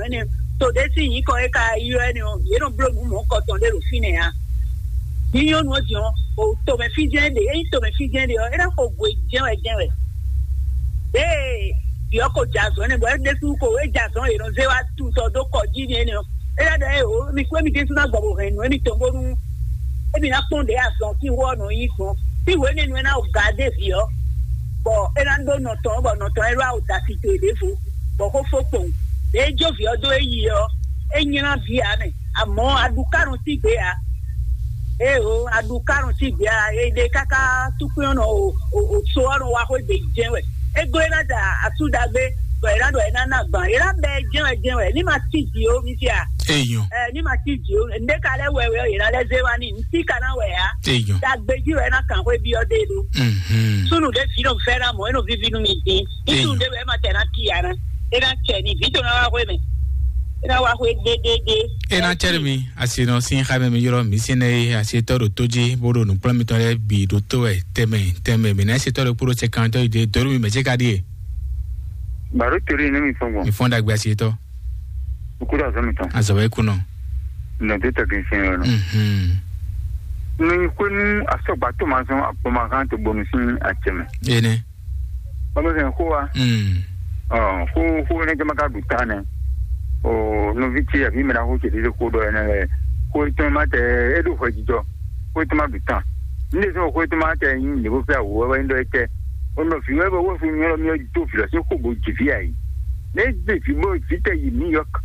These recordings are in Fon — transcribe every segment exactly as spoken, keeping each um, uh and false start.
Ɛnɛ, to ɖé sín nyǐkɔ e ka ylɔ́ ɛnɛ ɔ́, yě nɔ bló nǔ mɔ̌kɔtɔn ɖé ɖo fínɛ́ ǎ. Ní nyɔ́nu ɔ́ din ɔ́, o tomɛ fí jɛ́n ɖe, ényí tomɛ fí jɛ́n ɖe ɔ́, é ná xo gwe jɛ́n wɛ jɛ́n wɛ. Ée vǐ ɔ́ ko jɛ azɔ̌ nɛ́, bɔ é ɖésú ko é jɛ azɔ̌, è nɔ zé wá tutɔ dó kɔ jí n'i énɛ́ ɔ́, é ná ɖɔ ée o, mi kú émi ɖésú ná gbɔ bó hɛn nǔ émitɔn bónú émi ná kpɔ́n ɖě azɔn sín wú ɔ́ nɔ nyí gbɔn. Sín hwenu e nú ɛ ná wɔ ga dó vǐ ɔ́, bɔ é ná ɖó nɔ tɔn ɔ́, bɔ nɔ tɔn ɔ́ é ɖó awo da tito e ɖěvo, bɔ xó fó kpowun. Ɖě é jó vǐ ɔ́ dó é yi ɔ́, é nylá vǐ ǎ mɛ. Amɔ̌ aɖukánu sín gbě ǎ. Ée o, aɖukánu sín gbě ǎ, é ɖe káká túkpín ɔ́ nɔ o, o, o so ɔ́ nɔ wá xwé gbe jɛ́n wɛ. É glɔ́ é ná da asú ɖagbe, bɔ é ná ɖɔ é ná ná gbǎn. É ná bɛ jɛ́n wɛ jɛ́n wɛ. Ní ma cí jǐ ó, mi sia. Eyɔn. Ɛ, ní ma cí jǐ ó. Nɖé ka lɛ́ wɛ wɛ ɔ́, yě ná lɛ́ zé wá ní. Ntí ka ná wɛ á. Eyɔn. Dagbe jí wɛ é ná kàn xwé byɔ́ ɖé ɖó. Mhm. Súnnu ɖé vǐ nɔ fɛ́ ná mɔ̌, é nɔ víví nú mi dín. Ní súnnu Eyɔn. Ɖé wɛ é ma tɛ ná cí ǎ ná. É ná cɛ ní vǐ tó ná wá xwé mɛ. É ná wá xwé ɖéɖéɖé. É ná cɛ mi asi nɔ sín xa mɛ mi yrɔ mi sín nɛ asi tɔ ɖo tó jí bó ɖo nǔkplɔ́n mitɔn lɛ́ɛ bǐ ɖo tó wɛ tɛmɛ tɛmɛ mi ná asi tɔ ɖo kpóɖó sɛkantɔ yi dé dɔrú mi mɛ jɛ ka ɖíe. Baro tori ne mi fɔn gbɔn. Mi fɔn dagbe asi tɔ. Ukúrò azɔ mi tɔn. Azɔ wɛ kunɔ. Nɔ tó tɛgɛ sɛn yɔ nɔ. Mhm. Mi xwenu asɔgba tó ma zɔn akpɔmakan tó bɔnu sín acɛmɛ. Ene. Bàbá sɛn xó wa. Mm. Ɔ xó xó ne jama ka ɖu ta nɛ. O nɔvi ce àbí mɛ na xó ce ɖe xó ɖɔ ɛnɛ lɛ. Xó etɔn ma tɛ e ɖo hwɛ jijɔ. Xó etɔn ma ɖu ta. Ní ɖe sɔn xó etɔn ma tɛ nyi ne bó fɛ awu wɛ wɛ ní ɖɔ etɛ. O nɔ fi wɛ bɛ wɔ fi nyɔ mi do fi lɔ si xó bo dzi fi ayi. Ne dzi fi bo fi tɛ yi New York.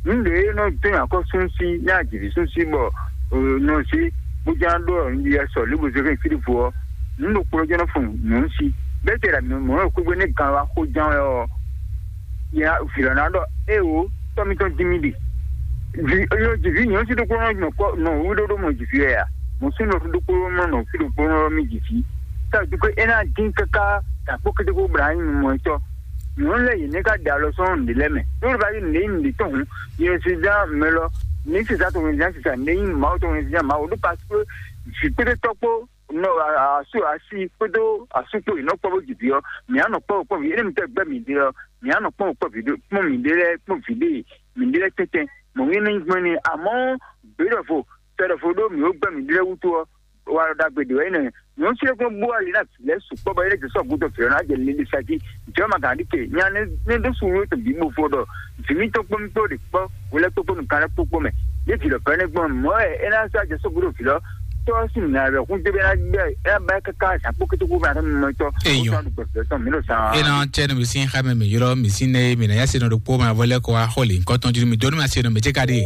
Ní ɖe nɔ tɛ akɔ sunsi ní adzi fi sunsi bɔ nɔ si bó ján ɖó ɔ nyi yɛ sɔ libo zeke filifu ɔ. Nǔ ɖokpó jɛ́n nɔ fun nǔ si. Bɛ́ tɛ ɖa mǐ mɔ̌ xwégbé nú gan wá xó ján wɛ ɔ́, ya vǐ lɔ ná ɖɔ: "Éwo, tɔ́ mitɔn dín mì ɖe." Vǐ yɔ jǐví nyɔ̌nu sí ɖokpó nɔ nɔ kɔ nɔ wú ɖó ɖó mɔ jǐví wɛ a? Mɔ̌ sú nɔ ɖokpó nɔ nɔ fí ɖokpó nɔ mì jǐví. Tá a dúpé é ná dín káká dǎkpó kétékó bla nyí mɔ tɔ́. Nyɔ̌nu lɛ́ɛ yě nɛ́ ká ɖe alɔ sɔ́ nǔɖé lɛ́ɛ mɛ. Ɖó bá yí nǔɖé nyí nǔɖé tɔn hǔn, yě si zán mɛ lɔ, ní si zán tɔn zán si zán nǔɖé nyí Mawu tɔn zán Mawu ɖó parce que vǐ kpéɖé tɔ́ kpó nɔ asu asi kpódó asu kpó yi nɔ kpɔ bó dzi vǐ ɔ́, mǐ á nɔ kpɔ kpɔ́n vǐ énɛ́ mi tɛ gbɛ́ mǐ ɖe ɔ́, mǐ á nɔ kpɔ́n kpɔ́n vǐ ɖé kpɔ́n mǐ ɖé lɛ́ɛ kpɔ́n vǐ ɖé mǐ ɖé lɛ́ɛ tɛ́ntɛn. Mɔ̌ mí ní gbɛ́ ni amɔ̌ gběɖɔvo tɛɖɔvo ɖó mǐ ó gbɛ́ mǐ ɖé lɛ́ɛ wútu ɔ́, wa ɖɔ ɖagbe ɖě wɛ nyí nɛ́. Nyɔ̌nu sílɛ́kún bú ali ná vǐ lɛ́ɛ sukpɔ́ bɔ é lɛ́ jɛ sɔ́ gúdo vǐ ɔ́ ná jɛ lili sa jí. Jɔ̌ ma gǎn ɖi ke nya ne ɖó suɖu tɔn bǐ bo fo ɖɔ vǐ mítɔn kpó mí kpó ɖe kpɔ́, wo lɛ́ kpókpó nukán lɛ́ kpókpó mɛ. Ní vǐ lɔ fɛ́nɛ́ gbɔn mɔ̌ wɛ é ná sɔ́ ajɔ sɔ́ gúdo vǐ lɔ tɔ́ sín nǔ nya wɛ hún dé bɛ ná gbɛ é ná ba káká zǎn kpó kété kó bɛ ná tɔ́ mimɔ tɔ́. Eyɔn. Ó tɔ́ ɖu gbɛ vǐ lɔ tɔn mǐ ɖo zan. E na tsɛ nu mi sin xa mɛ mi yrɔ mi sin ne mi na ya se nɔ ɖo kpó ma vɔ lɛ kɔ wa xɔ le nkɔ tɔn ju mi donu ma se nɔ mi tse ka ɖe.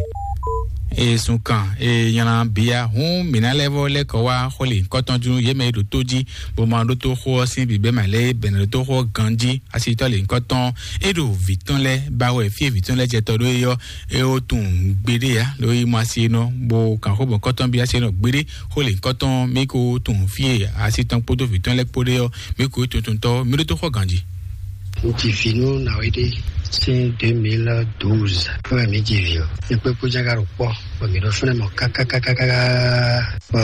E sun kan e nyana bia hun mi na lɛ vɔ lɛ kɔ wa xɔ le nkɔ tɔn ju ye mɛ e ɖo tó ji bo ma ɖo tó xɔ sin bi bɛ ma lɛ bɛ na ɖo tó xɔ ganji asitɔ le nkɔ tɔn e ɖo vi tɔn lɛ ba wɛ fie vi tɔn lɛ jɛ tɔ ɖo eyɔ e o tun gbeɖe ya lo yi mo asi nɔ bo kan xɔ bɔ nkɔ tɔn bi asi nɔ gbeɖe xɔ le nkɔ tɔn mi ko tun fie asi tɔn kpodo vi tɔn lɛ kpo ɖe yɔ mi ko tuntun tɔ mi ɖo tó xɔ ganji. Ŋutsu fi nú nàwé ɖé sín deux mille douze fún mi dzi vi ɔ. Nyɛ kpé kpó jága ɖo kpɔ bɔ mi ɖo fúnɛ mɔ kákákákáká bɔ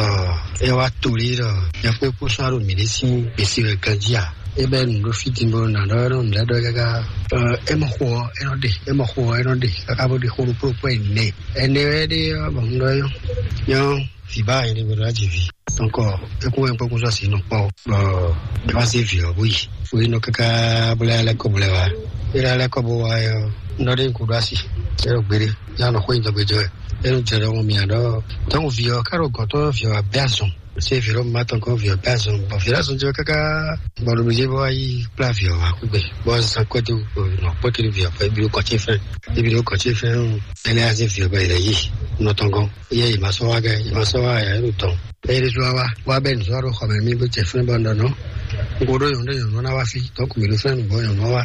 ɛ wá toli ɖɔ nyɛ kpé kpó sɔ́ ɖo mi ɖé sín gbèsè rɛ ganji a. E bɛ nu ɖo fi din bo na ɖɔ ɖo nu ɖe ɖɔ káká. Ɛ mɔ xo ɔ ɛ nɔ ɖe ɛ mɔ xo ɔ ɛ nɔ ɖe káká bó ɖe xo ɖo kpó kpó ɛ nɛ. Ɛ nɛ wɛ ɖe ɔ bɔ nu ɖɔ yɔ. Nyɔ Fiba yẹn ni gbọdọ láti vi. Donc, ẹkún wẹ̀ ń pẹ́ kó sọ sí inú pọ̀. Bọ̀ ẹ wá sí ìfì ọ̀ bóyì. Orí inú kíkà bọ́lá alẹ́ kọ́ bọ́lá wa. Eré alẹ́ kọ́ bó wa yọ. Nọ́dé ń kó dá sí. Ẹ lọ gbére. Yà nọ kó ìjọba ìjọ ẹ. Ẹ lọ jẹrẹ ọmọ mi àdọ́. Tọ́wọ́n fi ọ kárò gọ́tọ́ fi ọ abẹ́ àsùn. Ṣé ìfì ló máa tán kó fi ọ abẹ́ àsùn? Bọ̀ fi lásùn jẹ́ káká. Bọ̀dọ̀ mi jẹ́ bọ́ wá yí kpla fi ọ wá kúgbẹ́. Bọ́ sàn kọ́tù nọ pọ́kìlì fi ọ pẹ́ ibi ló kọ́ tí fẹ́. Ibi ló kọ́ tí fẹ́ ń. Ẹ lẹ́yà sí fi ọ bẹ́ẹ̀ lẹ́yìn. Nọ tán gan. Iye ìmásọ́wá gẹ́, ìmásọ́wá yà é ɖo tɔn. Bẹ́ẹ̀ ní sọ́wá wá, wá bẹ́ẹ̀ ní sọ́wá ɖo xɔ mɛ mí bó tẹ fún bọ́ ńdɔ̀nà. N ko ɖó yɔn ɖó yɔn ná wá fi, tɔn kò mí ɖó fún mi bɔ yɔn ná wá.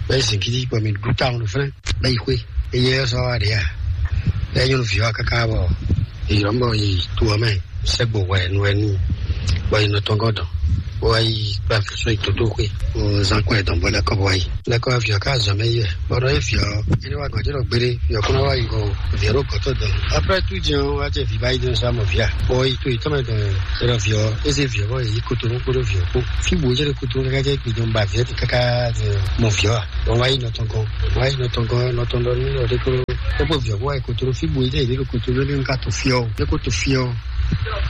Bẹ́ẹ̀ sì kí bɔ mi ɖú táwọn ɖó fún bẹ́ẹ̀ yí xwé. Eye ɛ sọ́wá ɖe yà. Bẹ́ẹ̀ nyɔnu fi wá káká bɔ ìyọ́ bɔ yi tu ɔ mɛ sẹ́gbò wɛ nu wɛ nu. Bɔ yi nɔ tɔn gɔdɔ. Wá yi kpla fi sɔ yi toto xwé. O zan kɔ ɛ dɔn bɔ lɛ kɔ bɔ wá yi. Lɛ kɔ fi ɔ ká zɔn mɛ yi wɛ. Bɔ nɔ ye fi ɔ. Ini wa gɔdzi ɖo gbére, yɔ kúnɔ wá yi go vǐ ɖo gɔtɔ dɔn. Après tout, diɛ wa jɛ vǐ ba yi dɔn sa mɔ vǐ a. Bɔ yi to yi tɔmɛ dɔn, yɛ vǐ ɔ, eze vǐ ɔ bɔ yi koto nu kpoɖo vǐ ɔ kpo. Fi bo jɛ koto nu kaka jɛ gbi dɔn ba vǐ ɔ ti kaka mɔ vǐ ɔ a. Bɔ wa yi nɔ tɔn gɔn, wa yi nɔ tɔn gɔn, nɔ tɔn dɔn nu yɔ ɖe kpo. Kpɔkpɔ viɔ kó wá yi kotoro fí bo yi ɖe ɖo kotoro ní ka to fiɔ o. Ní ko to fiɔ o.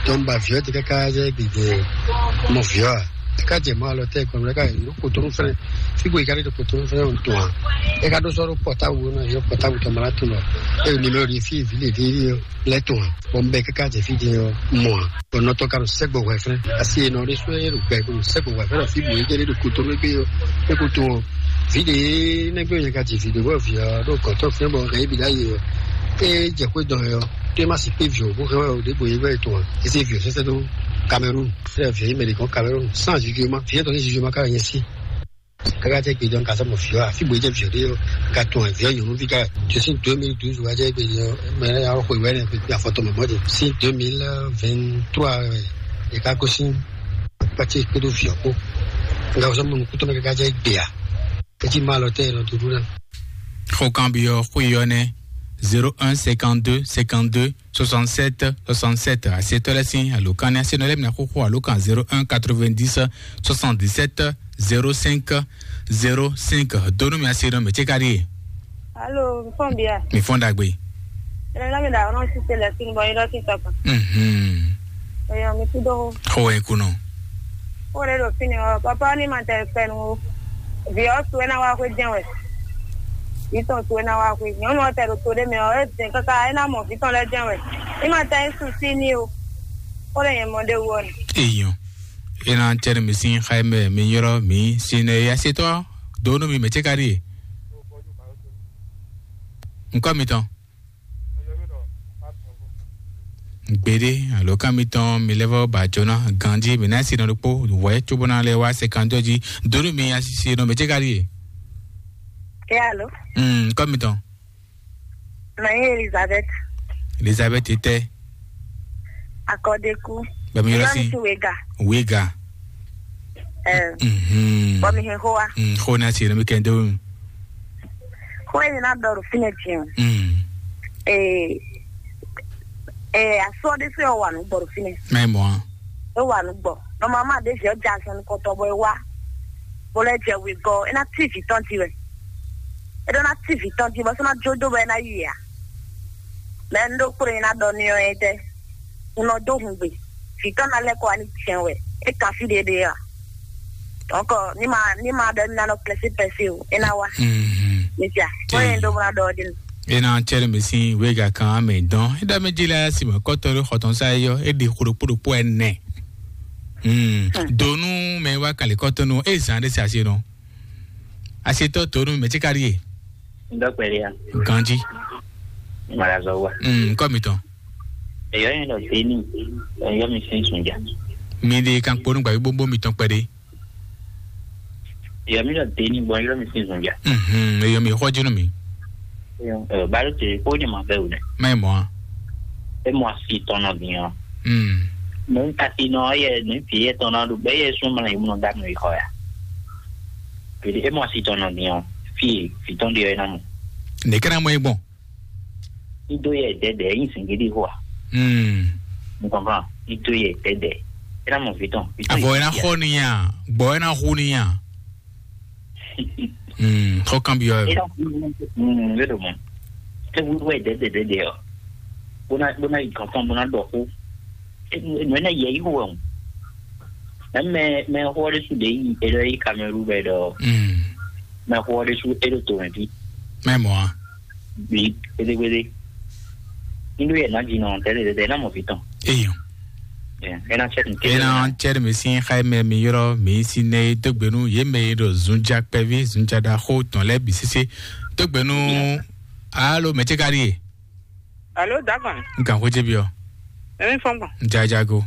Tɔn ba viɔ ti káká jɛ gbèdé mɔ viɔ a. Ká jɛ mɔ alɔ tɛ kɔnɔ ká yi kotoro fɛnɛ. Fí bo yi ka ɖe kotoro fɛnɛ o tɔn a. E ka ɖo sɔrɔ pɔtabu na yɔ pɔtabu tɔn mala tɔn lɔ. E nimero di fi vi le di yɔ lɛ tɔn a. Bɔn bɛ káká jɛ fi jɛ yɔ mɔ a. Bɔn nɔtɔ ka ɖo sɛgbɔ hwɛ fɛnɛ. Asi e nɔ ɖe sɔ e ɖo gbɛ ko sɛgbɔ hwɛ fɛnɛ fi bo yi jɛ ɖe ɖo kotoro gbe yɔ. E ko to o. Vi ɖe nɛgbɛ yɛ ka ji vi ɖe bɔ vi ɔ ɖo kɔtɔ fɛnɛ bɔ hɛ yi bi ɖa yi ɔ. E jɛ xwé dɔn yɔ. Tó e ma si kpé viɔ bó hɛn wɛ o ɖěbǔ é wɛ tɔn ǎ. É zé viɔ sɛ́sɛ́ dó Cameroun. Fɛ́ viɔ é mɛ ɖě gɔ́n Cameroun. Sans jugement, viɔ tɔn ní jugement ká nyɛ sí. Káká jẹ́ gbé dɔn ka sɔ́ mɔ viɔ a, fí bó é jẹ́ viɔ ɖé ɔ́, ka tɔn ɛ viɔ nyɔ̌nuví ká. Tó sín deux mille douze wá jẹ́ gbé dɔn mɛ ɛ yà xwe wɛ nɛ pé afɔtɔ mɛ mɔdé. Sín deux mille vingt-trois wɛ é ká kó sín pati kpódó viɔ kpó. Nga sɔ́ mɔ nukúntɔ́ mɛ káká jẹ́ gbé a. Etí ma lɔ tɛ nɔ dúdú ná. Xó kan byɔ́ xwé ɔ́ nɛ́: zéro un cinquante-deux cinquante-deux soixante-sept soixante-sept. Asetɔ́ lɛ́ɛ sín alǒkan ní asenɔ lɛ́ɛ bǐ ná xóxó alǒkan zéro un quatre-vingt-dix soixante-dix-sept zéro cinq zéro cinq. Donu mi asenɔ mɛ ce ka ɖíe. Alo, mi fɔn bia. Mi fɔn ɖagbe. Ɛnɛ na mi da ɔnɔ si se lɛ sin bɔ yɔrɔ si tɔkɔ. Mhm. Eyɔ mi ti do. Xó wɛ kunɔ. Xó ɖe ɖo fini ɔ, papa ni ma tɛ fɛnu o. Vi ɔ su ena wa xwe jɛn wɛ. Vi tɔn su ena wa xwe. Nyɔnu ɔ tɛ ɖo to ɖe mɛ ɔ, e dɛn kaka ena mɔ vi tɔn lɛ jɛn wɛ. Ni ma tɛ su si ni o. Xó ɖe nyɛ mɔ ɖe wu ɔ ni. Eyɔ. Ena tɛ mi sin xaimɛ mi yɔrɔ mi sin ne ya se tɔ. Donu mi mɛ ce ka ɖi. Nkɔ mi tɔn. Gbeɖé, alǒkan mitɔn mi lɛ́ vɔ́ ba jǒ ná ganjí, mǐ ná si nɔ ɖokpó wɛ̌ cóbó ná lɛ́ wá sɛkandó jí. Donu mi asisi nɔ mɛ ce ka ɖíe. Alo. Mm, kɔ mitɔn. Mɛ nyí Elizabeth. Elizabeth tɛ. Akɔdeku. Bɛmi yɔrɔ si. Wega. Wega. Eh. Mhm. Bɔ mi hɛn xó wa. Mm, xó ná si nɔ mi kɛ ndó. Xó e mi ná ɖɔ ɖo fínɛ́ din. Mm. Eh, eh, asɔ ɖé sɛ wà nú gbɔ ɖo fínɛ́. Mɛ mɔ. E wà nú gbɔ. Nɔmɔmɔ ɖe zɛ ja sɛn kɔtɔ bɔ e wá. Bó lɛ jɛ wegɔ, e ná tí vǐ tɔn jí wɛ. E ɖó ná tí vǐ tɔn jí bɔ sɔ ná jó dó bɔ e ná yi a. Mɛ un ɖó kplé ná ɖɔ n'i ɔ́ é tɛ́? Un nɔ dó hungbe. Vǐ tɔn ná lɛ́ kɔ wá ní jɛ́n wɛ. É kan fí ɖéɖé a? Donc, ní ma ní ma ɖɔ ní ná nɔ pɛsí pɛsí o, é ná wá. Mhm. Mi sia, bó yẹn ɖó bó ná ɖɔ ɔ́ ɖi nù. E na cɛ ɖe mɛ sin wega kan amɛ dɔn. E ɖa mɛ dzi la si mɛ kɔtɔ ɖe xɔtɔn sa yɔ. E ɖe xo ɖokpo ɖokpo ɛnɛ. Mm. Donu mɛ wa kali kɔtɔ nu. E zan ɖe si asi nɔ. Asi tɔ to nu mɛ tsi kari ye. Ndɔ kpɛɖe ya. Ganji. Mara zɔ wa. Mm, kɔ mi tɔn. Eyɔ yẹn lɔ teni. Eyɔ mi sin sunja. Mi de kan kponu gba gbogbo mi tɔn kpɛɖe. Eyɔ mi lɔ teni bɔ eyɔ mi sin sunja. Mhm, eyɔ mi xɔ jinu mi. Ɛ balo te ko ne ma fɛ o dɛ. Mɛ mɔ. E mɔ asi tɔn nɔ bi yan. Mm. Mɛ kasi nɔ yɛ ne fi yɛ tɔn na do bɛ yɛ sun mana yi munɔ da no yi xɔ ya. Pele e mɔ asi tɔn nɔ bi yan. Fi fi tɔn de yɛ na mo. Ne kana mɔ egbɔn. Ido yɛ dɛdɛ yin singidi xɔ a. Mm. Mo kɔn kan ido yɛ dɛdɛ. E na mɔ fi tɔn. Avɔ e na xɔ ni ya, gbɔ e na xu ni ya. Mm, xɔ kan bi yɔ. E na xu ni ya. Mm, e do mo. E wu wɛ dɛdɛ dɛdɛ ɔ. Bona bona yi kankan bona dɔ xu. Mɛ na yɛ yi wɛ o. Mɛ mɛ xɔ de su de yi e dɔ yi Cameroun bɛ dɔ. Mm. Mɛ xɔ de su e do to mɛ bi. Mɛ mɔ a. Bi gbede gbede. Indo yɛ na dzi nɔ tɛlɛ tɛlɛ na mɔ fi tɔn. Eyo. Ena cɛ tun tɛ. Ena cɛ mi si xa mɛ mi yɔrɔ mi si ne dogbe nu ye mɛ ye do zunja kpɛvi zunja da xo tɔn lɛ bi sise dogbe nu. Alo mɛ ce ka di ye. Alo, Dagan. N kan xwé ce byɔ. Emi fɔn gbɔn. Jajago.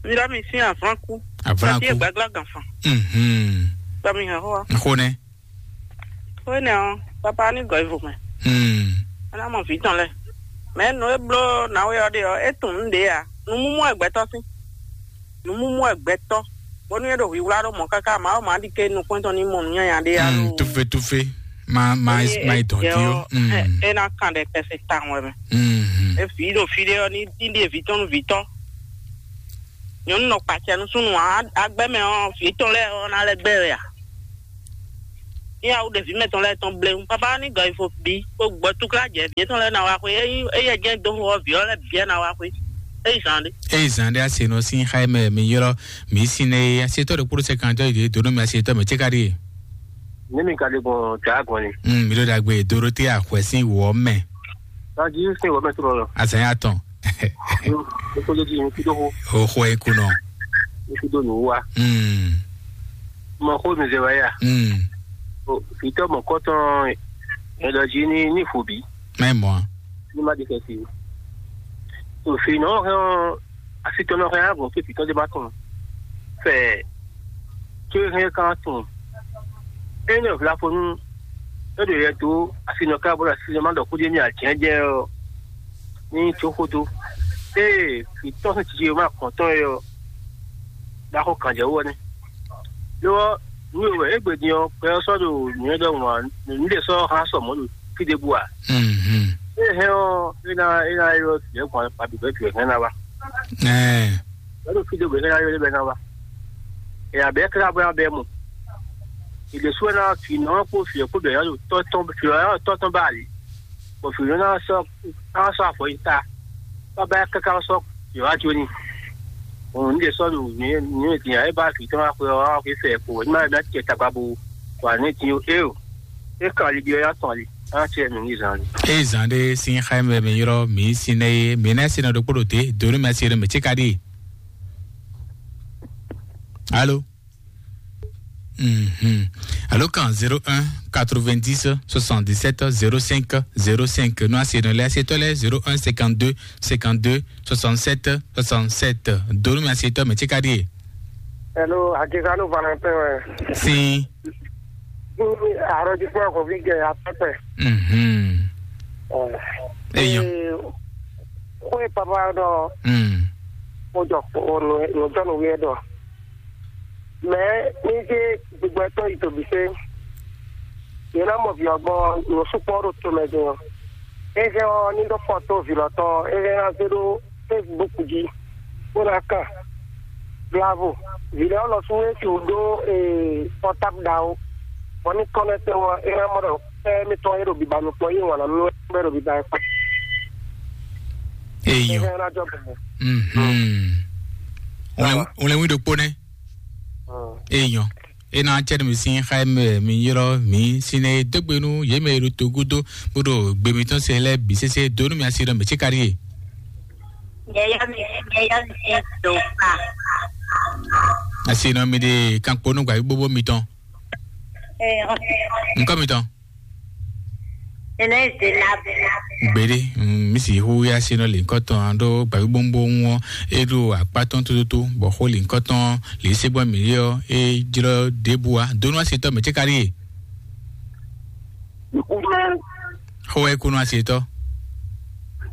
Mi ɖɔ mi sin avlanku. Avlanku. Tati egbagla gan fan. Mhm. Tɔ mi hɛn xó wa. Xó nɛ. Xó nɛ ɔ, papa ni gɔ ivo mɛ. Hmm. Ana mɔ vi tɔn lɛ. Mɛ no e blo na we ɔ de ɔ, e tun nu de ya. Nu mumu egbɛtɔ sin. Nu mumu egbɛtɔ. Bonu e ɖo hwihwla ɖo mɔ kaka ma o ma di ke nukpɔn tɔn ni mɔ nu nyanya de ya. Hmm, tufe tufe. Ma ma ma idɔn ti o. Hmm. E na kan ɖe kɛse tan wɛ mɛ. Hmm. E vi ɖo fi ɖe ɔ ni din ɖe vi tɔn nu vi tɔn. Nyɔnu nɔ kpatsɛ nu sunu agbɛ mɛ ɔ, vi tɔn lɛ ɔ na lɛ gbɛ wɛ a? ní awu ɖevi mɛtɔn lɛ́ɛ tɔn bléwún. Papa ní gɔ ifo bí kó gbɔ túkla jɛ vǐ étɔn lɛ́ɛ ná wá xwé. Ényí éyɛ jɛ́n dó xó ɔ́, vǐ ɔ́ lɛ́ɛ bǐ ná wá xwé. Éyí zan ɖé. Éyí zan ɖé, asi nɔ sín xá mɛ mi ylɔ́ mi sín nɛ é. Asi étɔn ɖo kpóɖó sɛkantɔ́ yi dó nú mi asi étɔn mɛ céka ɖíe. Ní mi ka ɖe gbɔn dǎ gbɔn ni. Mm, mi ɖo ɖagbe Dorothée axwɛ sín wɔ mɛ. Tají sín wɔ mɛ trɔ lɔ. Azan ya tɔn. Ní kó lé jí ní kúdó xó. O xɔ e kunɔ. Ní kúdó nǔ wá. Mm. Mɔ xó mi zɛ wá yá. Mm. O fitɔ mɔ kɔtɔn. Ɛdɔ jí ní ní fò bí. Mɛ mɔ. Ní má di kɛ si. O fi nɔ hɛn ɔ, asi tɔn nɔ hɛn agɔn fi fitɔ de ma tɔn. Fɛ. Tó hɛn kan tɔn. Ényí ɔ vlafonu. É ɖo yɛ dó asi nɔ ká bɔ asi nɔ ma ɖɔ kúdé ní àjɛjɛ ɔ. Ní tó xódó. Ée fitɔ sín tiji ma kɔn tɔn yɛ ɔ. Ɖaxó kan jɛ wú ɔ nɛ. Lo ɔ́, nǔ e wɛ égbé din ɔ́, gbɛ ɔ́ sɔ́ ɖo nǔnywɛ́ ɖɔhun ǎ, nǔɖé sɔ́ hán sɔ mɔ̌ ɖo fí ɖěbǔ ǎ. Mhm. É hɛn ɔ́, é ná é ná ylɔ́ vǐ ɔ́ gbɔn abǐ vɛ́ vǐ ɔ́ hɛn ná wá. Ɛɛ. Vɛ́ ɖo fí ɖěbǔ é ná ylɔ́ é ná wá. È abǐ é ká bɔ ná bɛ́ mɔ. È ɖě sú ɛ ná vǐ nɔ ɔ́ kpó vǐ ɔ́ kpó bǐ ɔ́ ná ɖo tɔ́ tɔn vǐ ɔ́ ná ɖo tɔ́ tɔn ba ali. Bɔ vǐ ɔ́ ná sɔ́ ná sɔ́ afɔ yi ta. Baba káká sɔ́ yǒ wá jó ní. Òun ní ɖe sɔ́ ɖo nǔ nǔ e din ǎ, é bá vǐ tɔn wá xwe ɔ́, wá xwe fɛ kpo, ní ma ná cɛ tagba bo wa ní din ó, é o. É kan ali byɔ́ yá tɔn ali, á cɛ nǔ ní zan ali. Eye zan ɖé sín xá mɛ mi ylɔ́ mǐ sin nɛ é, mǐ ná sin nɔ ɖokpó ɖo te, do ní mɛ sin nɔ mɛ cíka ɖíe. Alo. Mhm. Alo kan zéro un quatre-vingt-dix soixante-dix-sept zéro cinq zéro cinq. Nɔ asi nɔ lɛ asi tɔ lɛ zéro un cinquante-deux cinquante-deux soixante-sept soixante-sept. Donu mi asi tɔ mɛ cika die. Hello, Akizanu Valentin wɛ. Sin. Arɔji kpɔ ko vi gɛ atɔtɛ. Mhm. Eyan. Ko e papa dɔ. Mm. Ko jɔ ko no no jɔ no wi dɔ. Mɛ ní dé gbígbɛ tɔn yi tòbí sé. Yě ná mɔ vǐ ɔ́ gbɔn nǔ sukpɔ́ ɖo tomɛ din ɔ́. É hɛn ɔ́ ní ɖó fɔto vǐ lɔ tɔn é hɛn ná zé ɖó Facebook jí bó ná kan. Blavo. Vǐ lɛ́ɛ lɔ sú é sixú ɖó pɔtáb ɖaxó. Bɔ ní kɔ́nɛ́ tɛn ɔ́ é ná mɔ ɖɔ pɛ́ mitɔn é ɖo biba nukɔn yí wǎn ná nú é ɖo biba kpá. Eyɔ. É hɛn ná jɔ bɔ. Mhm. Wlɛn wí ɖokpó nɛ́. Eyɔ. Ena cɛ mi sin xa mɛ mi yrɔ mi sin ne dogbe nu ye mɛ ro to gudo bodo gbe mi tɔn se lɛ bi sese do nu mi asi dɔ mi tsi kari ye. Yɛyɔ mi yɛyɔ mi do pa. Asi nɔ mi de kan kponu gba gbogbo mi tɔn. Nkɔ mi tɔn. Ene de na. Gbede, mm, mi si hu ya si nɔ le nkɔ tɔn do gba gbogbo ŋɔ e do akpa tɔn tututu bɔ xo le nkɔ tɔn le se gbɔ mi yɔ e jlɔ debu a do nu asi tɔ mi tsi kari ye. Xo wɛ kunu asi tɔ.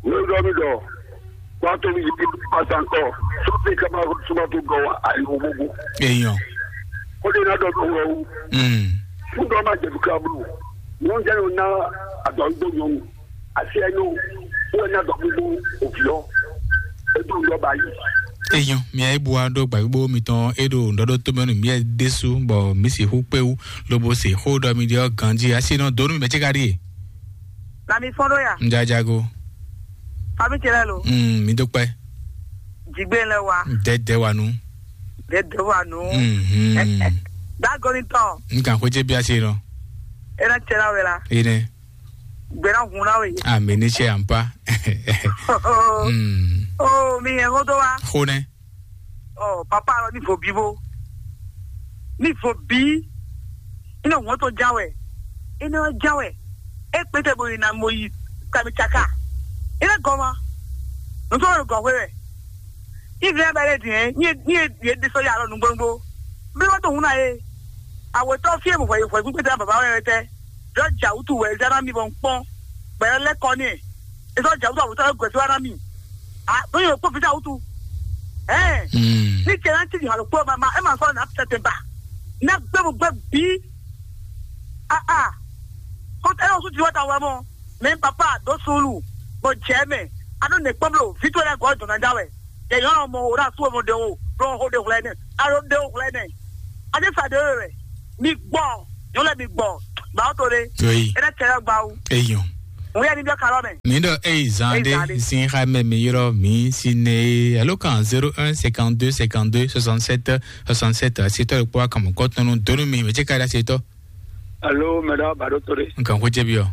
Ní ọjọ́ mi dọ̀, wá tó mi yìí pàtàkọ́, sókè ká máa súnmọ́ tó gan wa àìwò gbogbo. Èèyàn. Ó lè ná dọ̀dọ̀ wẹ̀ o. Mm. Fún dọ́ máa jẹ̀bi ká bú. Wọ́n jẹ́ yóò ná àdọ̀ ń gbóyún. Àti ẹnu, wọ́n ná dọ̀ gbogbo òbí ọ́. Ètò ìjọba yìí. Èèyàn mi àyè bu wa ɖó gbàgbó mi tɔn é ɖo ŋɖɔɖó tó mɛnu mi ɛ ɖésú bɔ mi sì xú kpéwu lobo sì xó ɖɔ mi ɖiɔ ganjí asi nɔ donu mi mɛ tsi ka ɖi. Lami fɔn ɖo ya. Njajago. Fami tse lɛ lo. Mm, mi do kpɛ. Jigbe lɛ wa. Dɛdɛ wa nu. Dɛdɛ wa nu. Mhm. Dagoni tɔ. N kan xwedze bi asi nɔ. Ena tse la wɛ la. Ene. Gbɛna hun na we. Ami ni tse ampa. Mm. Oh, mi yɛ hodo wa. Xo nɛ. Oh, papa lɔ ni vo bi bo. Ni vo bi. Ina ŋɔ to jawɛ. Ina jawɛ. E kpete bo ina mo yi kami tsaka. Ina gɔma. Nutɔ yɛ gɔ hwe wɛ. Ivi ya bɛ le diɛ. Ni ni ye de so ya lɔ nugbo nugbo. Bi wa to hun na ye. Awetɔ fie mo fɔ ye fɔ gbigbe da baba wɛ tɛ. Yɔ ja wutu wɛ zara mi bɔ nkpɔn. Bɛ lɛ kɔ ni. Ezɔ ja wutu awetɔ yɛ gɔsi wa na mi. A, ɖo yɔ kpɔ fita wutu. Ɛɛ. Mm. Ni cɛ na ti di halo kpɔ ma ma e ma sɔ na tɛtɛ ba. Na gbɛ mo gbɛ bi. A a. Ko tɛ yɔ su ti wa ta wa mɔ. Mɛ papa do sulu. Bo jɛ mɛ. A do ne kpɔ blo. Fitɔ lɛ gɔ dɔn na ja wɛ. Yɛ yɔ mɔ o na su mo de o. Blo ho de hwlɛ ne. A do de o hwlɛ ne. A de sa de wɛ. Mi gbɔ. Yɔ lɛ mi gbɔ. Ba o to ɖe. Oui. E ɖe kɛlɛ gba o. Eyɔn. Ŋu yɛ ni bɛ kalɔ mɛ. Mi ɖɔ eyi zan Eyi zan ɖe ɖe. Sin xa mɛ mi yrɔ mi si ne alo kan zéro un cinquante-deux cinquante-deux soixante-sept soixante-sept. Asetɔ ɖo kpɔ akamɔ kɔtɔnu donu mi mɛ tse ka ɖe asetɔ. Alo, mɛ ɖɔ ba ɖo to ɖe. Nkan ko jɛ bi ɔ.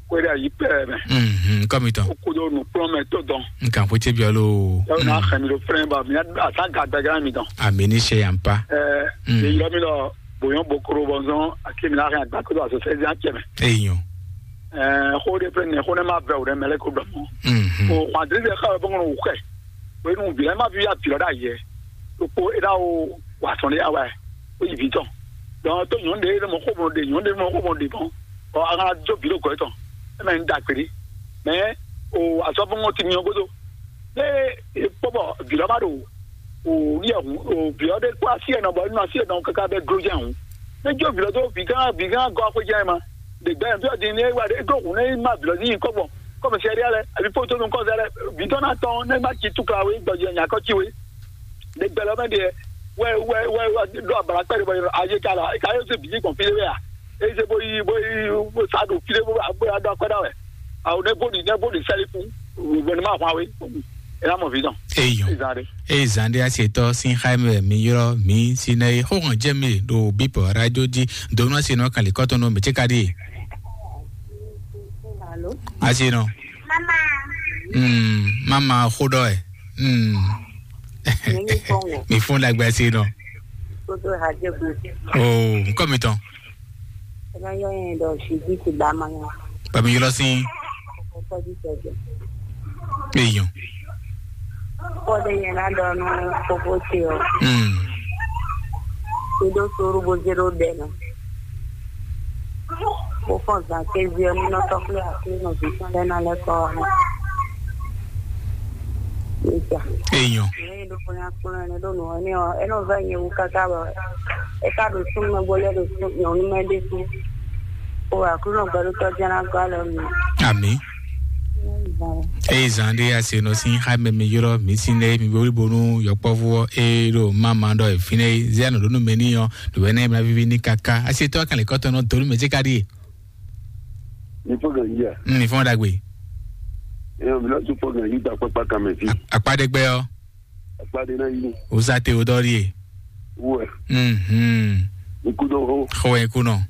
Ko ɖe ayi pɛ mɛ. Mhm, kɔmi tɔn. O kudo nu kplɔn mɛ to dɔn. Nkan ko jɛ bi ɔ lo. Yɔ na xɛ mi ɖo flɛn ba mi asa ga gbɛgã mi dɔn. Ami ni se yan pa. Ɛ, Mm. Ye yɔ mi lɔ boyɔn bokoro bɔnzɔn ake mi na hɛn agba kodo aso sɛzi acɛ mɛ. Eyɔn. Ɛɛ, xo ɖe ƒe nɛ xo ne ma vɛ o ɖe mɛ lɛ ko dɔn. Mhm. O xɔ adri de xa bɔ ŋɔnɔ wukɛ. O enu bi lɛ ma vi ya bi lɔ da yɛ. O ko e da o wa sɔn de ya wa. O yi vi tɔn. Donc to nyɔn de ne mo xo mo de nyɔn de mo xo mo de bɔn. Ɔ a kana jo bi lo gɔ tɔn. E mɛ n da kperi. Mɛ o asɔfo ŋɔ ti nyɔ godo. Ne e kpɔ bɔ vǐ lɔ ma ɖo o ɖiɛ hǔn o vǐ lɔ ɖe kpó así ɛnɔ bɔ nínú así ɛnɔ káká bɛ gló jɛ hǔn. Ne jó vǐ lɔ dó vǐ gán vǐ gán gɔ́ axwé jɛ ma. Ɖe gbɛ fí ɔdín ní wá ɖe gló hǔn ní ma vǐ lɔ ní nyí kɔ́gbɔn kɔmɛsɛ́ ɖé lɛ àbí fótó nú kɔ́zɛ lɛ vǐ tɔn ná tɔn ní ma ci túkla wé gbɔjɛ nyakɔ ci wé. Ɖe gbɛ lɔ mɛ ɖe wɛ wɛ wɛ wɛ ɖo abala kpɛ ɖe bɔ ayé ka la ka yóò se bǐ gbɔn fí ɖé wɛ a. Eze bo yi bo yi bo sa ɖo fí ɖé bo bo ya ɖɔ akɔ́ ɖa wɛ. Awo ne bo ɖi ne bo ɖi sɛli kú. Bo ne ma hwan we. E na mɔ vi dɔn. Eyɔn. Ezan ɖe. Eyi zan ɖe asetɔ sin xa mɛ mi yrɔ mi si ne xo hɔn jɛ mi ɖo bipɔ radio dzi donu asi nɔ kan likɔtɔ nɔ mɛ tse ka ɖi. Alo. Asi nɔ. Mama. Mm, mama xo ɖɔ ɛ. Mm. Mi fɔn wɔ. Mi fɔn dagbe asi nɔ. Kodo hajɛ bu. Oh, nkɔ mi tɔn. Ena yɔ yɛn ɖɔ si di ti ba ma nya. Ba mi ylɔ sin. Kɔkɔ di sɛ jɛ. Eyɔn. Kɔde yɛn na ɖɔ nu koko ti o. Hmm. Ti do suru bo zero ɖe nu. Bo fɔn zan ke zi ɔ ni nɔ tɔkle akli nɔ vi sɔn lɛ na lɛ kɔ wa. Eyɔn. Ɖo kpɔnyankpɔn ɛnɛ ɖo nɔ ɛnɛ ɔ ɛnɛ ɔ vɛ nyɛ wu kaka bɔ ɛ ka ɖo súnmɛ bó lɛ ɖo sún nyɔnu mɛ ɖé sú. O aklúnɔ gbɛɖótɔ jɛn ná gɔ́ alɔ mi. Ami. Eye zan ɖé ase nɔ sín xá mɛ mi ylɔ́ mi sín lɛ́ mi wlí bónú yɔkpɔ́vú ɔ́ é ɖo máma ɖɔ è fínɛ́ é zé anɔ ɖó nú mɛ n'i ɔ́ ɖo ɛnɛ mla víví ní káká asi tɔ́ kan lě kɔ́tɔn nɔ dó nú mɛ jé ká ɖíe. Ní fɔ́n gǎn yí a? Ní fɔ́n ɖagbe. Ẹ ɔ mi lɔ tún fɔ́n gǎn yí gba kpákpá kan mɛ fí. Akpá ɖé gbɛ ɔ́. Akpá ɖé ná yí. Ó sá te ó dɔ́ ɖíe. Wɛ. Mhm. Ikú dó hó. Xɔ ẹ kú nɔ.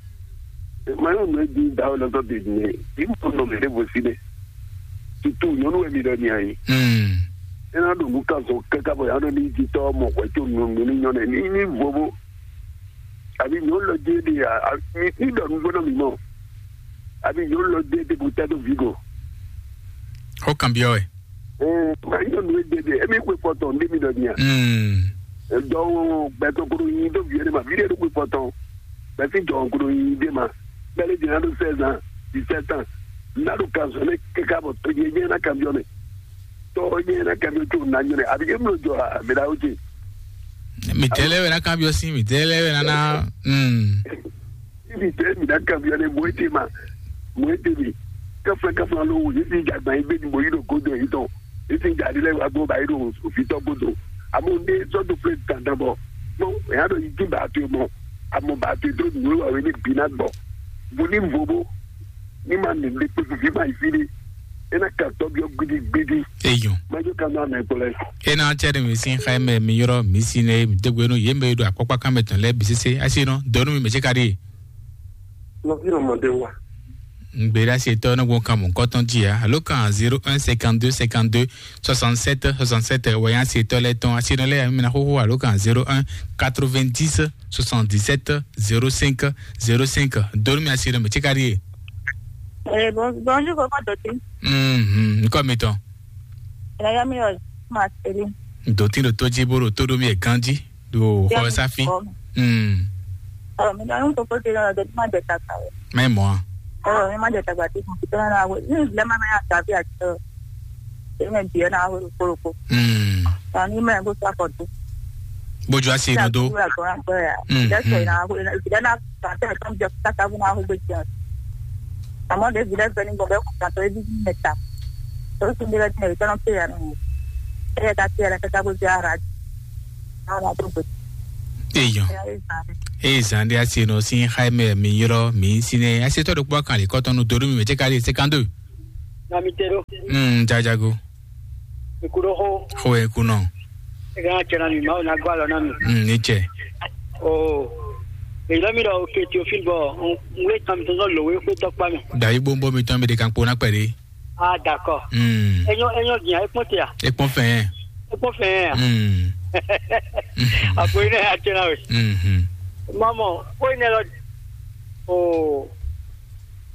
Mayɔ nɔ di da o lɔtɔ de ne. Ibu nɔ mɛ ne bo si ne. Tutu nyɔnu wɛ mi dɔ ni ayi. Mm. Ena ɖo nu kan sɔ kaka bɔ ya nɔ ni ti tɔ mɔ hwɛ tso nɔ nɔ ni nyɔ nɛ ni ni vovo. Abi nyɔnu lɔ di de a mi ni dɔ nu gbɔdɔ mi mɔ. Abi nyɔnu lɔ di de bo tɛ do vi go. Xɔ kan biɔ ɛ. Ee, ma nyɔnu e de de emi kwe fɔtɔn ndi mi dɔ nya. Mm. Dɔwɔ gbɛtɔ koɖo nyi do viɛ ne ma vi ɖe ɖo kwe fɔtɔn. Bɛsi jɔ koɖo nyi de ma. Bɛlɛ jɛ na ɖo seize ans, dix-sept ans. Na ɖo kan sɔ ne keka bɔ to nye nye na kan biɔ ne. Tɔ nye na kan biɔ tso na nyɔ ne. Abi emlo jɔ a mi da o ce. Mi tɛlɛ wɛ na kan biɔ si mi tɛlɛ wɛ na na. Mm. Ibi tɛ mi na kan biɔ ne mo ete ma. Mo ete mi. Kafla kafla lo wo yesi jagba yi be mo yi ɖo godo yi tɔn. Yesi jadi lɛ wa gbɔ ba yi ɖo ofitɔ godo. Amo ne sɔdo fle dandan bɔ. Mo ya ɖo yi ti ba to mɔ. Amo ba to do nyo wa we ne bi na gbɔ. Bo ni vo bo. Ni ma ne le pe fi ma yi fi de. Ena ka tɔ biɔ gbidi gbidi. Eyɔn. Ma jo ka na mɛ kplɛ. Ena cɛ de mi sin xa mɛ mi yɔrɔ mi si ne mi degbe no ye mɛ do akpɔkpa kan mɛ tɔn lɛ bi sese asi nɔ dɔnu mi mɛ se ka de. Nɔvi nɔ mɔ de wa. Ŋgbéra setɔ ne gbɔn kan mɔ kɔtɔn dzi ya alo kan zéro un cinquante-deux cinquante-deux soixante-sept soixante-sept wɛ ya setɔ lɛ tɔn asi nɔ lɛ ya mi na xoxo alo kan zéro un quatre-vingt-dix soixante-dix-sept zéro cinq zéro cinq donu mi asi nɔ mi tse ka di ye. Eh, bon, bonjour, comment tu? Mhm, nkɔ mi tɔn. Ela ya mi yo Marceline. Doti do toji boro todo mi e ganji. Do xɔ safi. Mm. Ɔ mi dɔn koko ti lɔ doti ma de kaka o. Mɛ mɔ. Ɔ mi ma de kaka ti ko to na we ni le ma na ya safi a to. E mɛ bi na we ko ko. Mm. Ani mɛ go sa ko to. Bojo asi no do. Mm. That's why na we na if na ka te kan je kaka bu na we be. Àmọ́ David ẹ fẹ́ ní gbọ́dọ̀ kó kàtó ebi ní mẹ́ta. Ó sì ń bẹ̀rẹ̀ tí ẹ̀rí tọ́nà pé àná. Ẹ yẹ ká tí ẹ̀rẹ́ kẹ́kẹ́ bó jẹ́ ara. Àwọn àtúgbò. Èèyàn. Ẹ yẹ ká rí sáré. Eye zan ɖé asi nɔ sín xá mɛ mi ylɔ́ mi sín nɛ asetɔ ɖokpó kan lě kɔtɔn nú dodó mi mɛ cɛ ka ɖe cinquante-deux. Na mi te ɖo. Hmm, jajago. Mi ku ɖo xo. Xo e ku nɔ. E ka cɛ na mi ma o na gba lɔ na mi. Hmm, ni cɛ. O. Èyí lɔ mi ɖɔ oke Théophile bɔ n wé tán mi tɔn sɔ lò wé xwé tɔkpa mi. Dayi gbóngbó mi tɔn mi ɖe kan kpó ná kpɛ ɖé. Ah, d'accord. Hmm. Enyo enyo din e kpɔn te a? E kpɔn fɛn. E kpɔn fɛn a? Hmm. Apo ina ya tena we. Mhm. Mama, ko ina lɔ. O.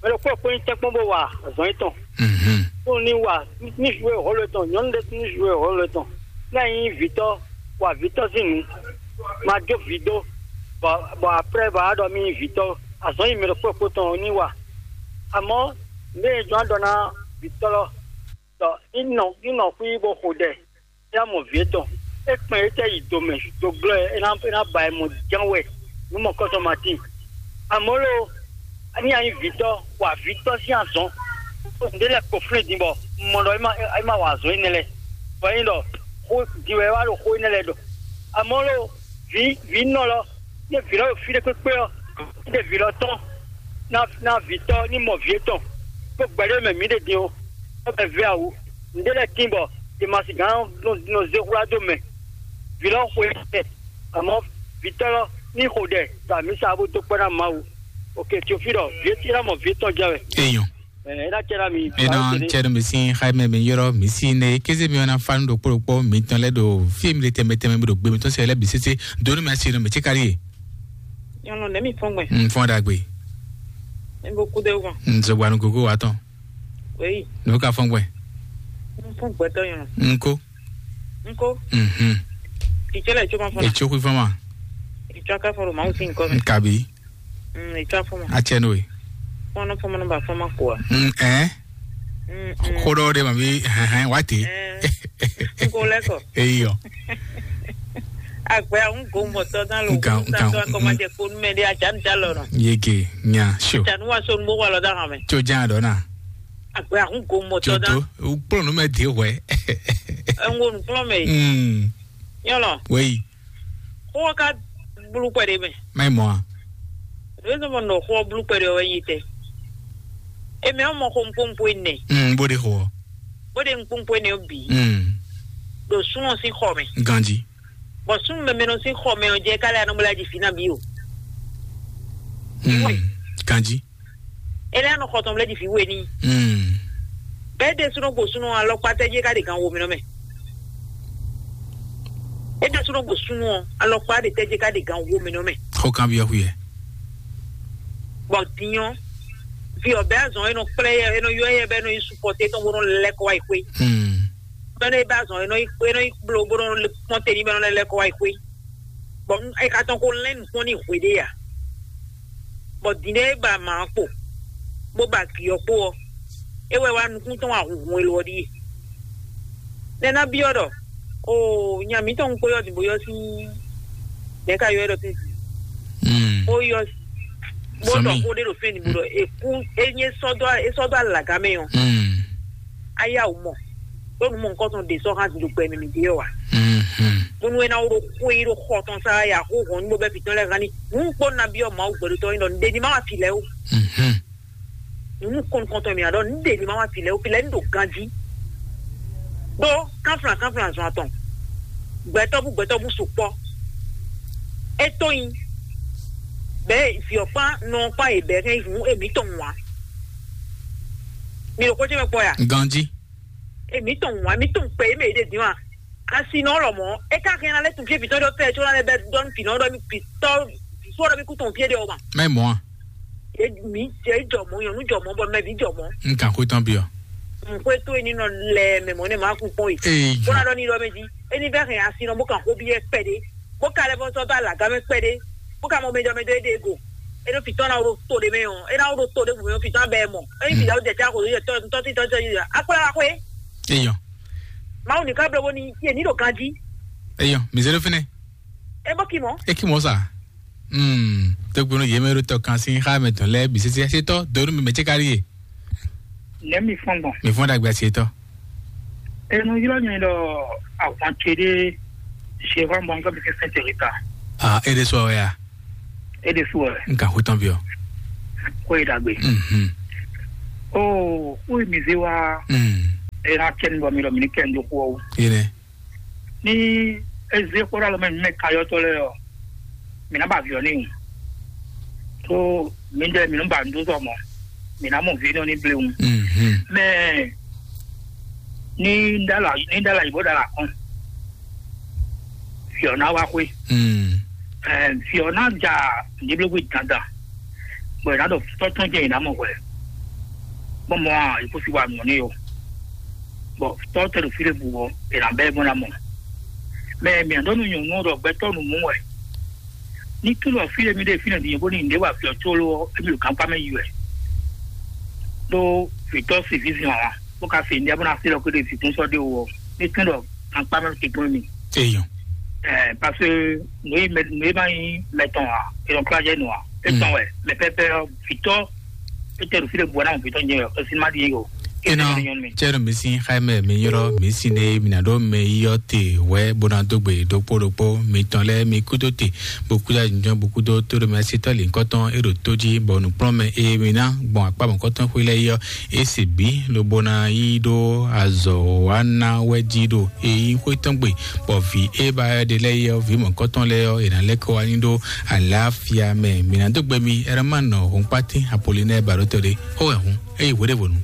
Mɛ ɖokpó kpó nyí tɛ́nkpɔ́n bó wa azɔn yětɔn. Mhm. Kpó ní wa ní joué rôle tɔn, nyɔ̌nu ɖé ní joué rôle tɔn. Ní a nyí vǐtɔ́, wa vǐtɔ́ sín nǔ, ma jó vǐ dó, bɔ bɔ après bɔ a ɖɔ mì nyí vǐtɔ́, azɔn yi mɛ ɖokpó kpó tɔn ní wa. Amɔ̌ nú é jɔ́n a ɖɔ ná vǐtɔ́ lɔ, ɖɔ ní nɔ ní nɔ xwí bó xo ɖɛ. É ná mɔ vǐ étɔn. É kpɛn étɛ́ yi do mɛ, do glɔ́ ɛ, é ná é ná ba ɛ mɔ ján wɛ, nǔ mɔ̌kɔ́tɔn ma tíin. Amɔ̌ lo, ní a nyí vǐtɔ́, wa vǐtɔ́ sín azɔn. Nǔɖé lɛ́ɛ kpo flín din bɔ un mɔ ɖɔ é má é má wa azɔn énɛ́ lɛ́ɛ. Bɔ é nyí ɖɔ xó din wɛ é wá ɖo xó énɛ́ lɛ́ɛ ɖɔ. Amɔ̌ lo, vǐ vǐ nɔ lɔ, ní vǐ lɔ ɖo fí ɖé kpékpé ɔ́, ní ɖe vǐ lɔ tɔn ná ná vǐtɔ́ ní mɔ vǐ étɔn, bó gbɛɖé mɛ mǐ ɖe din ó, bó bɛ vɛ́ awu. Nǔɖé lɛ́ɛ tíin bɔ Demasi gán nɔ nɔ zé hwlá dó mɛ. Vǐ lɔ xwe ɛ, amɔ̌ vǐtɔ́ lɔ ní xo ɖɛ ɖo amǐsa bó dó kpɛ́ ná Mawu. Oke, Teofílɔ, vǐ étí ná mɔ vǐ étɔn jɛ wɛ. Eyɔn. Ɛ, é ná cɛ ná mi. Ena cɛɖɔ mi sín xayimɛ mi yɔrɔ mi sí ne kéze mi wana fanu ɖokpó ɖokpó mi tɔn lɛ ɖo fí mi ɖe tɛmɛ tɛmɛ mi ɖo gbe mi tɔn sɛ lɛ bi sese donu mi asi nɔ mi tsi kari ye. Nyɔnu ne mi fɔn gbɛ. N fɔn ɖagbe. Ne bo ku de wọn. N zɔgba nu gogo wa tɔn. Wei. N'o ka fɔn gbɛ. N fɔn gbɛtɔ nyɔnu. N ko. N ko. Mhm. Titsɛ lɛ tso ma fɔn na. Etso kui fɔn ma. Etso aka fɔn ɖo Mawu sín nkɔ mɛ. N kabi. Mm, e tsɔ fún ma. Atsɛ nɔ ye. Fɔnɔ fɔnɔ ba fɔnɔ kɔ. Mm, ɛ. Mm, mm. Xó ɖɔ ɖe ma bi hɛn hɛn wa te. Ɛ. N ko lɛ kɔ. Eyɔ. Agbɛ ahun go mɔtɔ dan lo. Nkan nkan. Tɔ akɔma jɛ kponu mɛ de ajan ja lɔ nɔ. Yege nya sio. Janu wa so nubo wa lɔ da hame. Tso jan dɔ na. Agbɛ ahun go mɔtɔ dan. Tso to kplɔnu mɛ de wɛ. Ɛngo nukplɔ mɛ. Mm. Yɔlɔ. Wei. Xó ɔ́ ka blú kpɛɖé mɛ. Má yi mɔ a? Lě e mɔ nɔ xó ɔ́ blú kpɛɖé ɔ́ wɛ nyí tɛ. Èmi ɔ́ mɔ xó ŋkpóŋkpó énɛ́. Mm, bó ɖe xó ɔ́. Bó ɖe ŋkpóŋkpó énɛ́ ɔ́ bǐ. Mm. Ɖo súnnu ɔ́ sín xɔ mɛ. Ganjí. Bɔ súnnu mɛmɛ nɔ sín xɔ mɛ ɔ́ jɛ ká lɛ anɔmɔlá jí fínà bí o. Mm. Ganjí. Ele anɔ xɔ tɔn lɛ ɖi vǐ we n'i. Mm. Bɛɛ ɖe súnɔ gbo súnɔ alɔkpa tɛ́ jɛ ká ɖe gan wo mɛ nɔ mɛ. E ɖe súnɔ gbo súnɔ alɔkpa ɖe tɛ́ jɛ ká ɖe gan wo mɛ nɔ mɛ. Xó kan byɔ́ xú yɛ. Bɔ dinyɔ vi ɔbɛ azɔn enɔ kplɛ yɛ enɔ yɔ yɛ bɛ enɔ yi supɔte tɔn bó nɔ lɛ kɔ wá yi xwé. Mm. Bɛ enɔ yi bɛ azɔn enɔ yi enɔ yi blo bó nɔ kpɔn te ní bɛ enɔ lɛ kɔ wá yi xwé. Bɔ e ka tɔn ko lɛn nukpɔn ní hwe ɖé ya. Bɔ din ɖé ba ma kpo bó ba gǐ ɔ́ kpo ɔ́, é wɛ wá nukún tɔn wá hunhun elo ɔ́ ɖíe. Nɛ ná byɔ́ ɖɔ o nya mǐtɔn kpo yɔ din bó yɔ sín nɛ̌ ka yɔ ɛ ɖɔ sín Mm. Bó yɔ bó Sɔmí. Ɖɔ xó ɖé ɖo fɛn ní bó ɖɔ èkú é nyé sɔdɔ é sɔdɔ alagá mɛ ɔ Mm. Ayáwó mɔ ɖó nu mɔ nukɔn tɔn ɖe sɔ hã dundun gbɛ mi mi ɖe yɔ wa. Mhm. Bónú é ná wó ɖo xó yi ɖo xɔ tɔn sá ya xó hɔn níbo bɛ fitɔn lɛ hàn ní nu kpó nabi ɔ mawu gbɛɖotɔ yi ɖɔ nɖe ní ma wa fi lɛ o. Mhm. Nunu kɔnkɔntɔn mi aɖɔ nɖe ní ma wa fi lɛ o fi lɛ ní ɖo ganjí. Ɖó kánflan kánflan zɔn atɔn gbɛtɔ́ bú gbɛtɔ́ bú sukpɔ. É tó nyi bɛ viɔkpa nɔkpa yi bɛ hɛn yi hùn émítɔn wá. Mi ɖo xó ce mɛ kpɔ ya? Ganjí. Èmi tɔn wá mi tɔn kpɛ yé mɛ yé ɖe dín wa. Asi nɔ lɔ mɔ e ka hɛn na lɛ tun fie fitɔ ɖɔ fɛ tso na lɛ bɛ dɔn fi nɔ ɖɔ mi fitɔ fo ɖɔ mi ku tɔn fie ɖe o ma. Mɛ mɔ a? E mi e jɔ mɔ nyɔnu jɔ mɔ bɔ mɛ bi jɔ mɔ. N kan xó tɔn bi ɔ. N ko eto eni nɔ lɛ mɛ mɔ ne ma kun kpɔn yi. Ee, ko na ɖɔ ni ɖɔ mɛ di eni bɛ hɛn asi nɔ mo kan xó bi yɛ kpɛ ɖe. Bó ka lɛ fɔ sɔ dó alaga mɛ kpɛɖé, bó ka mɔ mɛ jɔ mɛ dó é ɖe go. É ɖo fǐtɔ́ ná ɖo to ɖé mɛ ɔ́, é ná ɖo to ɖé mɛ ɔ́, fǐtɔ́ ná bɛ ɛ mɔ. É nyí fǐtɔ́ jɛ tá xo yɛ tɔ́ tɔ́ tí tɔ́ tí yɛ akpla wá xwé. Eyɔ. Mawu ní ká bló bó ní yé ní ɖo ganjí. Eyɔ, mi zé ɖó fínɛ́. É bó kí mɔ. É kí mɔ sa. Hmm, tó gbónú yě mɛ ɖó tɔ kan sín xá mɛ tɔn lɛ́ɛ bǐ sésé sétɔ́ dó nú mi mɛ cé kárí yé. Nɛ̌ mi fɔ́n gbɔn? Mi fɔ́n ɖagbe asi etɔ́. Enu ylɔ́ nyɛ ɖɔ ahwan ce ɖé Jehovah mɔ nukɔn mi kɛn sɛn Jerika. Ah, é ɖé sɔ wɛ ya. É ɖésú wɛ. N ka xwé tɔn byɔ́. Xó e ɖagbe. Mhm. O xó e mi zé wá. Mm. É ná kɛ nu bɔ mi ɖɔ mi ní kɛ nu dó xó ɔ́ wú. Yé nɛ. Ní é zé xó ɖo alɔ mɛ mi mɛ kayɔ́tɔ́ lɛ́ɛ ɔ́, mi ná ba vǐ ɔ́ n'i. Tó mi ɖɛ mi nú ba nǔ dó zɔ mɔ, mi ná mɔ vǐ nɔ ní bléwu. Mhm. Mɛ ní ɖala ní ɖala yìí bó ɖala kɔn. Vǐ ɔ́ ná wá xwé. Mm. Ɛɛ, vǐ ɔ́ ná ja nǔɖiblógbé dandan, bɔ è nǎ ɖɔ tɔ́tɔ́n jɛ è nǎ mɔ hwɛ, bɔ mɔ a, è kó si wa nǔ n'i o, bɔ tɔ́ tɛ ɖo fí ɖé bu ɔ́, è nǎ bɛ́ bó ná mɔ. Mɛ mǐ ɖɔ nú nyɔ̌nu ɖɔ gbɛtɔ́ nǔ mú wɛ, ní kí lɔ fí ɖé mì ɖe fínɛ́ din bó ní nǔɖé wa vǐ ɔ́ có ló ɔ́, émí ɖo gankpá mɛ yi wɛ, ɖó vǐtɔ́ si vǐ zin wǎn, bó ka se nǔɖé bó ná se ɖɔ kó ɖe vǐkún sɔ́ ɖé wú ɔ́, ní kí lɔ gankpá mɛ se kún mì. Eyɔn. Ɛɛ, parce que nǔ e mɛ nǔ e ma nyí mɛtɔn ǎ, e nɔ kplá jɛ nǔ ǎ, é tɔn wɛ, mɛ pɛpɛ ɔ́, vǐtɔ́, é tɛ ɖo fí ɖé bua ná mɔ vǐtɔ́ nyɛ ɔ, é sin má ɖi o. Ena. Cɛɖɔ mi sin xaimɛ mi yɔrɔ mi sin ne mi na ɖo mɛ yɔ te wɛ bona dogbe ɖokpó ɖokpó mi tɔn lɛ mi kudo te, bokuda nyɔ bokudo to ɖo mɛ sitɔ li nkɔtɔn e ɖo to jí bɔ nukplɔn mɛ e mi na gbɔn akpa mɔkɔtɔn xwi lɛ yɔ e se bi lobona yi ɖo azɔ wa na wɛ jí ɖo eyi xwetɔn gbe, bɔ vi e ba ɖe lɛ yɔ vi mɔkɔtɔn lɛ yɔ e na lɛ kɔ wa ni ɖo alafia mɛ mi na dogbe mi ɛrɛ ma nɔ hun kpati apolinaire baɖotɔ ɖe. Xó wɛ hun eyi hweɖevonu.